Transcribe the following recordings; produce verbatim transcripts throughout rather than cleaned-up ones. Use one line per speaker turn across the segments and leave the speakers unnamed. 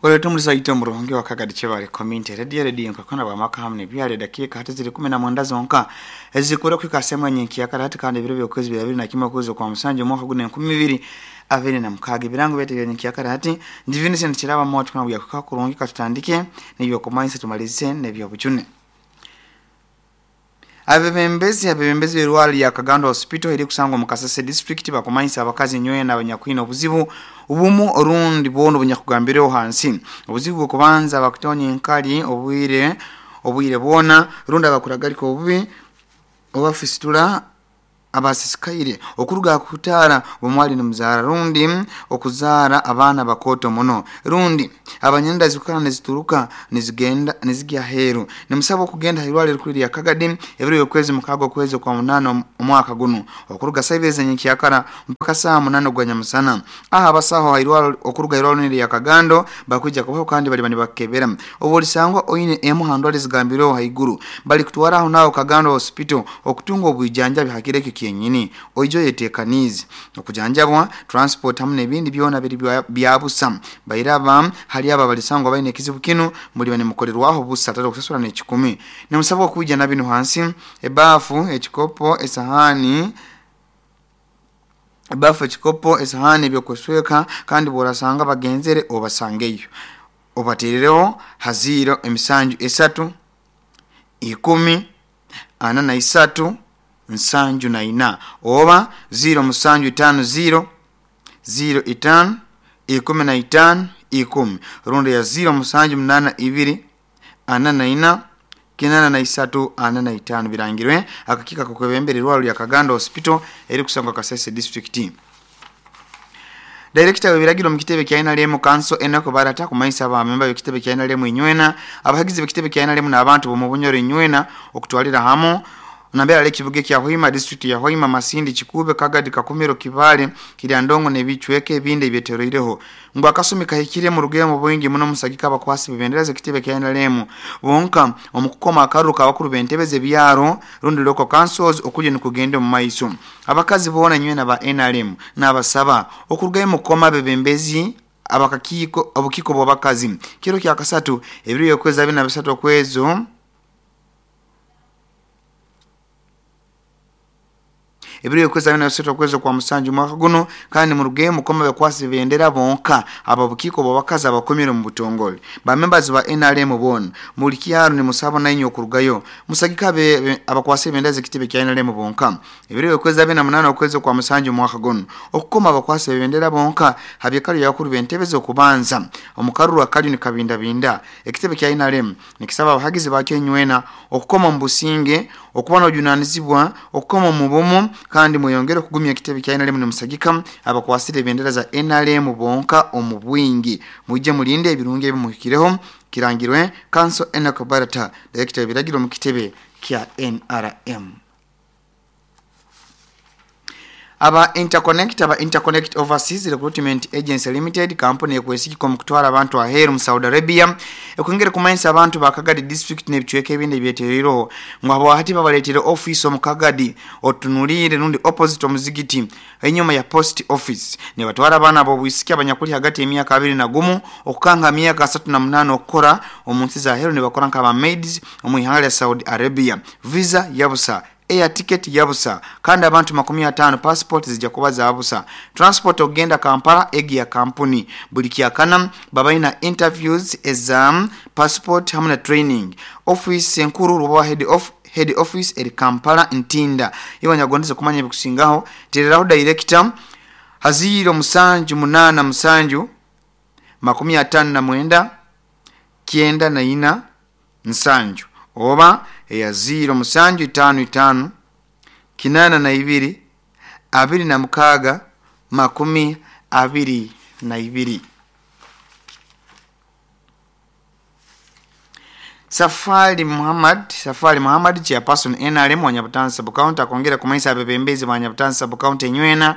Oleta omulisaita omurungi wakagadi Kibale Community Radio, radio nkakona bwamaka hamwe nebyale. Dakika hati ziri kumi na mwenda zonka ezikura kwika sema nyenki yakara hati, kandi ebiro byokwezi bibiri na kimwe kwezi kwa musanju omwaka guno enkumi ibiri abiri na mukaaga. Ebirango byetu nyenki yakara hati ndi Vincent Kiraba moto kuna byakuka kurungi. Katutandike nebyokumanyisa, tumalize nebyobujune. Abebembezi abebembezi b'erwaro lya Kagando Hospital eri kusangwa mu Kasese District bakumanyisa abakazi nywena abanyakwina obuzibu obumu orundi bwono bunyakugambireho hansi. Obuzibu bwokubanza, bakutonya enkali obwire obwire bwona, rundi abakuragalika obubi oba fistula, abasisikaire okuruga kutaara omwali nimuzaara, rundi okuzaara abaana bakooto muno, rundi abanyenda zikukana nizituruka nizigenda nizigya aheeru. Nimusaba okugenda hairwaro erikuru lya Kagadi ebiro byokwezi mukaaga okwezi kwa munaana omwaka guno, okuruga saa ibiri zenyenkyakara mpaka saa munaana ogwa nyamusana. Aha abasaho hairwaro okuruga hairwaro lya Kagando bakwija kubaho kandi baliba nibakebera. Obu olisangwa oine emu ha ndwara ezigambireho haiguru, bali kutwara aho naho Kagando Hospital okutunga obwijanjabi. Hakiro ekyo kyenyini oije oyetekaniize okujanjabwa. Transport hamu n'ebindi byona biri bya busa. Bairaba hali abo abalisangwa baine ekizibu kinu, muliba nimukorerwaho busa atari okusasura n'ekikumi. Nimusabwa okwija na binu hansi: ebaafu, ekikopo, esahani, ebaafu, ekikopo, esahani, ebyokwesweka. Kandi bworasanga bagenzere, obasangeyo, obaterereho ha ziro emisanju esatu ikumi ana na isatu nsanju na ina oba ziro musanju itano ziro ziro itano ikumi na itano ikumi, rundi ya ziro musanju munana ibiri ana na ina kinana na isatu ana na itano. Birangirwe akakiiko kakwebembera irwaro lya Kagando Hospital eri kusangwa Kasese District. Director w'ebiragiro mu kitebe kya N R M Council Enoch Barata kumanyisa abamemba b'ekitebe kya N R M inywena, abahagizi b'ekitebe kya N R M n'abantu b'omu Bunyoro inywena okutwalira hamu nambere ali ekibuga ekya Hoima, district ya Hoima, Masindi, Kikuube, Kagadi, Kakumiro, Kibale, Kiryandongo n'ebicweka ebindi ebyetoroireho, ngu akasumi kahikire mu bwingi muno musagika abakwasi bebendera z'ekitebe kya N R M bonka omu kukoma akaruru k'abakuru b'entebe z'ebyaro rundi local councils okulya nikugenda omu maiso. Abakazi boona nywena ba N R M n'abasaba okurugayo mukukoma abebembezi abakakiiko obukiiko bw'abakazi kiro kya kasatu, ebiro by'okwezi abiri na bisatu okwezi ebiro by'okwezi abiri na bisatu okwezi kwa musanju omwaka guno. Kandi murugeyo mukoma bekwasi bendera bonka aba bukiiko bw'abakazi abakomire mu butongole. Bamembers ba N R M boona muli kyaro nimusaba nainywe okurugayo musagika abakwasi ebendera z'ekitebe kya N R M bonka ebiro by'okwezi abiri na munaana okwezi kwa musanju omwaka guno, okukoma abakwasi bebendera bonka habyekalo byabakuru b'entebe z'okubanza omukaruru akaliyo nikabindabinda. Ekitebe kya N R M nikisaba abahagizi bakyo inywena okukoma omu businge, okuba n'obujunanizibwa, okukoma omu bumu, kandi mweyongere okugumya ekitebe kya N R M nimusagika abakwasire ebendera za N R M bonka omu bwingi. Mwije mulinde ebirungi ebimuhikireho. Kirangirwe Council Enoch Barata, director ebiragiro mu kitebe kya N R M. Aba Interconnect aba Interconnect Overseas Recruitment Agency Limited, kampuni ekwesigika omu kutwara abantu aheeru mu Saudi Arabia, ekwongere kumanyisa abantu ba Kagadi District n'ebicweka ebindi ebyetereireho ngu habwahati babaleetere office omu Kagadi, otunuliire rundi opposite omuzigiti, enyuma ya post office. Nibatwara abaana b'obwisiki abanyakuli hagati y'emyaka abiri na gumu okukanga myaka asatu na munaana okukora omu nsi za heeru, nibakora nk'aba maids omu ihanga lya Saudi Arabia. Visa yabusa, air ticket yabusa, kandi abantu makumi ataano passport zijja kuba zabusa. Transport okugenda Kampala egi ya kampuni. Buli kyakana babalina interviews eza passport hamu na training. Office enkuru ruba head of head office eri Kampala, Ntinda. Iwe nyagondeze kumanya ebikusingaho, tereraho director ha ziro musanju munana musanju makumi atano na mwenda kyenda na ina nsanju oba eya ziro musanju itano itano kinana na ibiri abiri na mukaaga makumi abiri na ibiri. Safari Muhammad Safari Muhammad, chairperson N R M wa Nyabutansi Sub County, akongera kumanyisa abebembezi ba Nyabutansi Sub County enywena.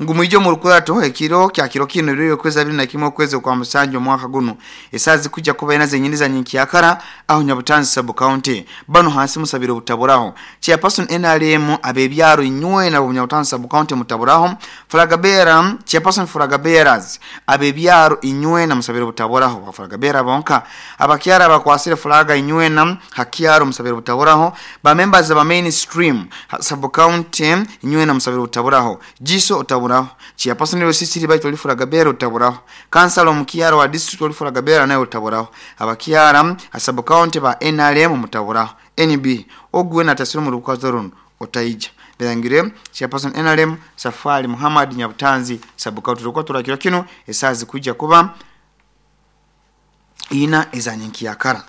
Ngu mwije mu rukurato ekiro kya kiro kino ryo kweza abiri na kimwe okwezi kwa musanju omwaka guno esazi kujja kuba ena zenyini za nyinkiyakara aho Nyabutanzi sub county. Bano hansi musabire obutaburaho. Chairperson N R M abebyaro inywe na Nyabutanzi sub county mutaburaho. Flagabera chairperson Flagaberas abebyaro inywe na musabire obutaburaho. Flagabera bonka abakyara abakwasire flaga inywe na hakyaro musabire obutaburaho. Ba members aba mainstream sub county inywe na musabire obutaburaho. Jiso otaburaho. Chairperson Rosisi baito oli Flagabera otaburaho. Councilor omukyaro wa district oli Flagabera naye otaburaho. Abakyara sub county ba N R M mutaburaho. N B ogwe na tasiro mu rukazo runo otaija. Birangire chairperson N R M Safari Muhammad Nyabutanzi sub county rukwa turakira kino esazi kujja kuba ina ezanyinkiyakara.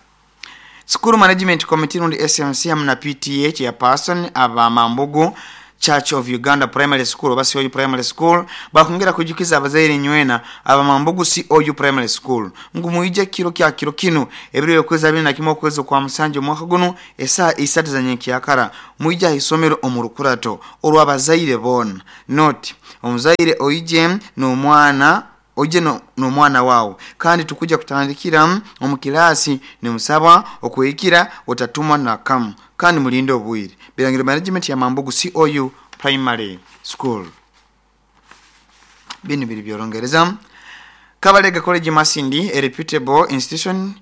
School Management Committee rundi S M C hamwe na P T A chairperson aba Mambugu Church of Uganda Primary School oba C O U Primary School bakongera kujukiza abazaire nywena aba Mambugu C O U Primary School ngu muije kiro kya kiro kino ebiro yokweza abiri na kimwe okwezi kwa musanju omwaka guno esaa isatu za nyinkiyakara muije isomero omurukurato olw'abazaire bona. Note omuzaire oije n'omwana oje no n'omwana wawo kandi tukuja kutandikira omu kilasi ni musaba okwikira otatuma na kamu kandi mulinde obwire. Birangiro management ya Mambugu C O U Primary School. Bini biri byorongereza. Kabalega College Masindi, a reputable institution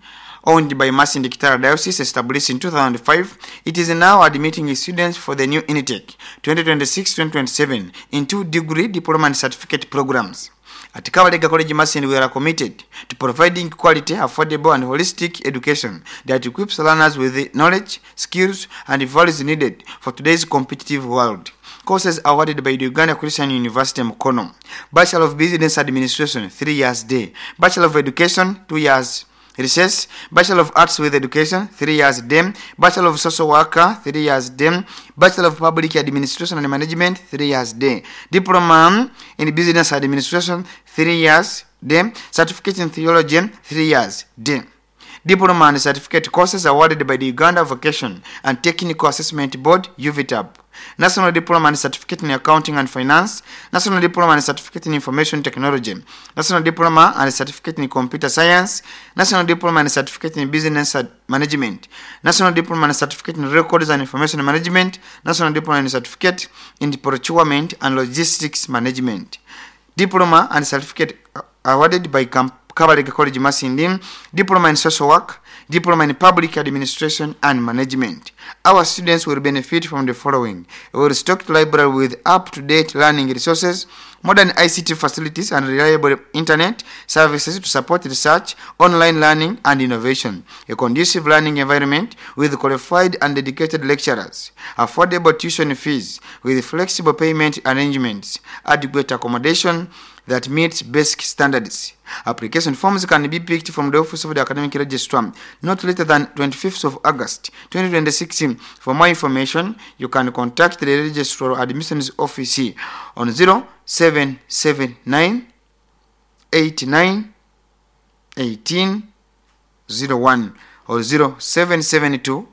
owned by Masindi Kitara Diocese, established in two thousand five, it is now admitting students for the new intake twenty twenty-six twenty twenty-seven in two degree, diploma and certificate programs. At Kabalega College Masindi, we are committed to providing quality, affordable and holistic education that equips learners with the knowledge, skills and values needed for today's competitive world. Courses awarded by the Uganda Christian University Mukono. Bachelor of Business Administration, three years day. Bachelor of Education, two years recess. Bachelor of Arts with Education, three years day. Bachelor of Social Worker, three years day. Bachelor of Public Administration and Management, three years day. Diploma in Business Administration, three years day. Certificate in Theology, three years day. Diploma and certificate courses awarded by the Uganda Vocation and Technical Assessment Board, U V T A B. National Diploma and Certificate in Accounting and Finance, National Diploma and Certificate in Information Technology, National Diploma and Certificate in Computer Science, National Diploma and Certificate in Business Management, National Diploma and Certificate in Records and Information Management, National Diploma and Certificate in Procurement and Logistics Management. Diploma and Certificate awarded by Kabalega College Masindi, Diploma in Social Work, Diploma in Public Administration and Management. Our students will benefit from the following: a well-stocked library with up-to-date learning resources, modern I C T facilities and reliable internet services to support research, online learning and innovation, a conducive learning environment with qualified and dedicated lecturers, affordable tuition fees with flexible payment arrangements, adequate accommodation that meets basic standards. Application forms can be picked from the Office of the Academic Registrar not later than twenty-fifth of August twenty twenty-six. For more information, you can contact the Registrar Admissions Office on zero seven seven nine eight nine eighteen zero one or zero seven seven two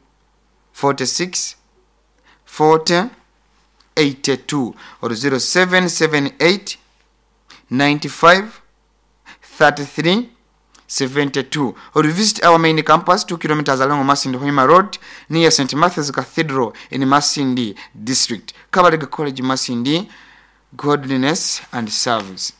forty-six forty eighty-two or zero seven seven eight ninety-five thirty-three seventy-two, or visit our main campus two kilometers along Masindi Hoima Road near Saint Matthew's Cathedral in Masindi District. Kabalega College Masindi, godliness and service.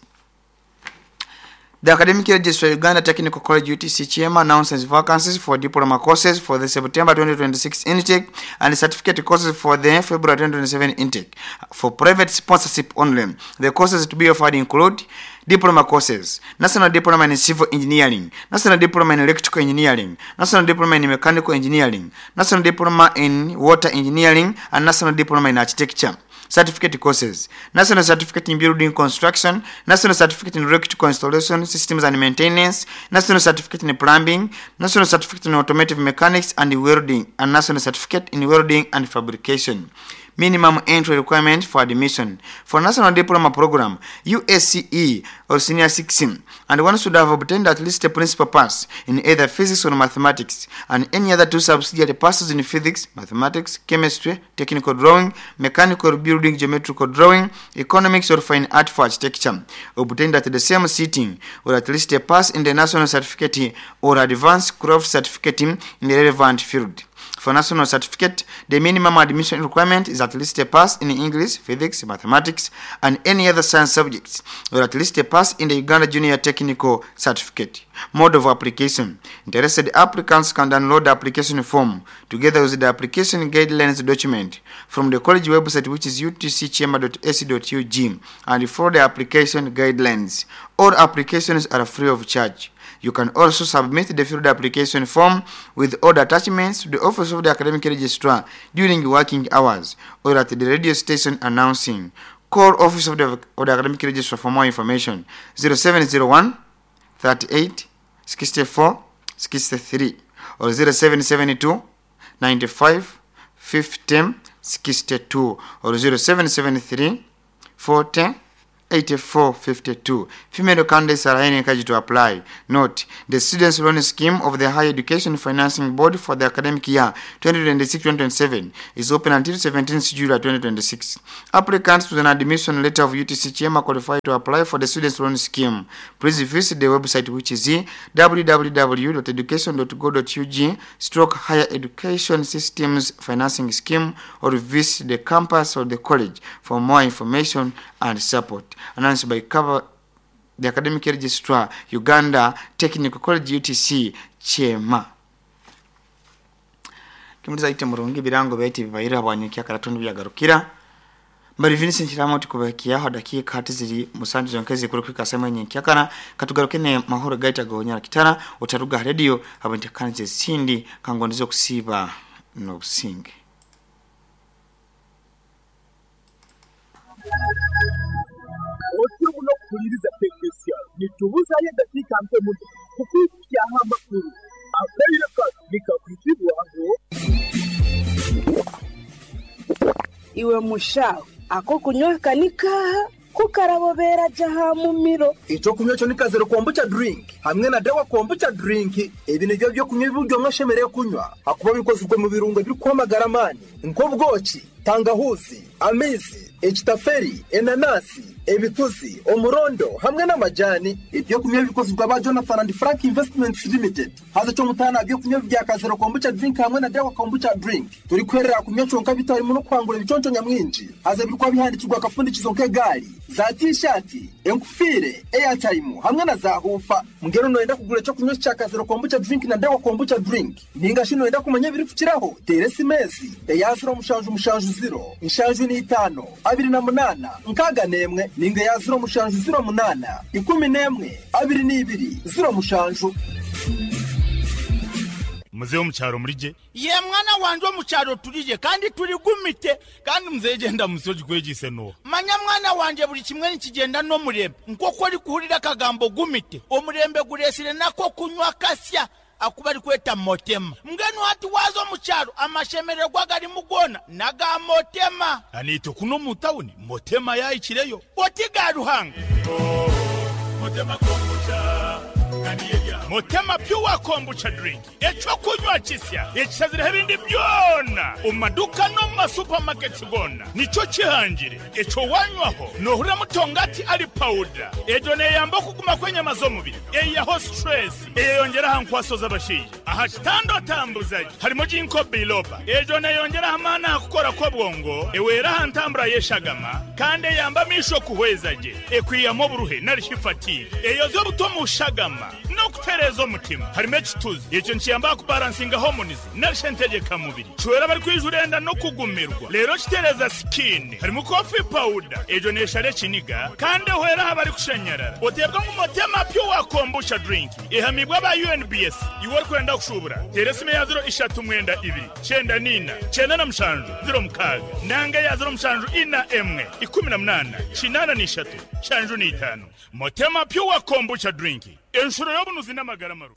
The Academic Registrar Uganda Technical College U T C Chairman announces vacancies for diploma courses for the September twenty twenty-six intake and certificate courses for the February twenty twenty-seven intake for private sponsorship only. The courses to be offered include diploma courses, National Diploma in Civil Engineering, National Diploma in Electrical Engineering, National Diploma in Mechanical Engineering, National Diploma in Water Engineering, and National Diploma in Architecture. Certificate courses, National Certificate in Building Construction, National Certificate in Electrical Installation Systems and Maintenance, National Certificate in Plumbing, National Certificate in Automotive Mechanics and Welding, and National Certificate in Welding and Fabrication. Minimum entry requirement for admission for National Diploma Program U S C E or Senior six, and one should have obtained at least a principal pass in either physics or mathematics and any other two subsidiary passes in physics, mathematics, chemistry, technical drawing, mechanical building, geometrical drawing, economics or fine art for architecture, obtained at the same sitting, or at least a pass in the national certificate or advanced craft certificate in the relevant field. For national certificate, the minimum admission requirement is at least a pass in English, physics, mathematics, and any other science subjects, or at least a pass in the Uganda Junior Technical Certificate. Mode of application. Interested applicants can download the application form together with the application guidelines document from the college website, which is U T C chema dot A C dot U G, and follow the application guidelines. All applications are free of charge. You can also submit the filled application form with all the attachments to the office of the academic registrar during working hours or at the radio station announcing. Call office of the, of the academic registrar for more information. zero seven zero one, thirty-eight, sixty-four, sixty-three or zero seven seven two, ninety-five, fifteen, sixty-two or zero seven seven three, forty, eighty-four fifty-two. Female candidates are highly encouraged to apply. Note, the Students' Loan Scheme of the Higher Education Financing Board for the academic year twenty twenty-six twenty twenty-seven is open until seventeenth July twenty twenty-six. Applicants with an admission letter of U T C Chema qualify to apply for the Students' Loan Scheme. Please visit the website, which is w w w dot education dot go dot u g stroke higher education systems financing scheme, or visit the campus or the college for more information and support. Announced by cover the Academic Registrar, Uganda Technical College U T C Chema. Kimuliza ite murungi birango byaiti bibaira bwanyukia karatundu byagarukira. Mbari Vincent Kiramo tukubakia ho dakika hati ziri musanju zonkezi kuri kwika sema nyenkiakana katugaruke ne mahoro gaita gonya kitara utaruga radio abante kanze sindi kangondizo kusiba no businge.
Otumu no kuliriza teknisya nitubuza ye dakika mpe muto kukukia amakuru abeire ka nikakwitibwa ngo
iwe mushawe ako kunywa kanika kukarabobera jaha mumiro
ico kunywa cyo nikazero kombucha drink hamwe na dawa kombucha drink ebi nivyo byo kunywa ibiryo mwashemereye kunywa akuba bikozwe mu birungo biri kwamagara mani nk'ubwoki tangahuzi amizi ekitaferi enanasi ebituzi omurondo hamwe n'amajani ibyo kunywa bikozwe aba Jonathan and Frank Investments Limited haza cyo mutana byo kunywa bya kazero kombucha drink hamwe na dawa kombucha drink turi kwerera kunywa conka bitarimo no kwangura ibiconco nyamwinji haza birikwa bihandikirwa akafundikizo nk'egari za t-shirt enkufire airtime hamwe na za hufa mngero noenda kugura cyo kunywa cya kazero kombucha drink na dawa kombucha drink ninga shino enda kumenya biri kukiraho teresi mezi eya zero mushanju mushanju zero inshanju ni itano abiri na munana nkaga nemwe ninga ya zero mushanju zero munana ikumi nemwe abiri n'ibiri zero mushanju.
Mzee omucharo murije
ye mwana wanje omucharo turije kandi turi gumite
kandi mzee genda musoji kwegise no
manya mwana wanje buri kimwe nikigenda no murembe nkoko ari kuhurira kagambo gumite omurembe guresire nako kunywa kasya akuba ari kweta motema mbwenu hati wazo mucharo amashemererwa gari mugona naga motema
anito kuno mu town motema yayikireyo
otiga ruhanga
oh, motema kombucha Motema pure kombucha drink echo kunywa kisya ekisazira ebindi byona omaduka no ma supermarkets gona nico kihangire echo wanywaho nohura mutongati ali powder ejo neyamba kuguma kwenyama z'omubiri eyaho stress eyongera hankwaso z'abashije aha kitando tambuzaji harimo jinko biloba ejo neyongera hamana kukora ko bwongo ewera hantambura yeshagama kandi yamba misho kuhwezaje ekwiyamo buruhe narishifati eyo zo butomushagama no kutereza omutima harimo ekituzi ekyo nkiyamba kubalansinga hormones narishentegeka mubiri chwera bari kwijurenda no kugumirwa lero kitereza skin harimo coffee powder ejo neshare kiniga kandi hwera habari kushanyarara otebwa mu motema pure kombucha drink ihamibwa ba U N B S iwe kwenda kushubura teresime ya zero ishatu mwenda ibiri chenda nina chenda na mshanju zero mukaga nanga ya zero mshanju ina emwe ikumi na munana chinana ni ishatu shanju ni itano motema pure kombucha drink enshuro y'obunuzi n'amagara maru.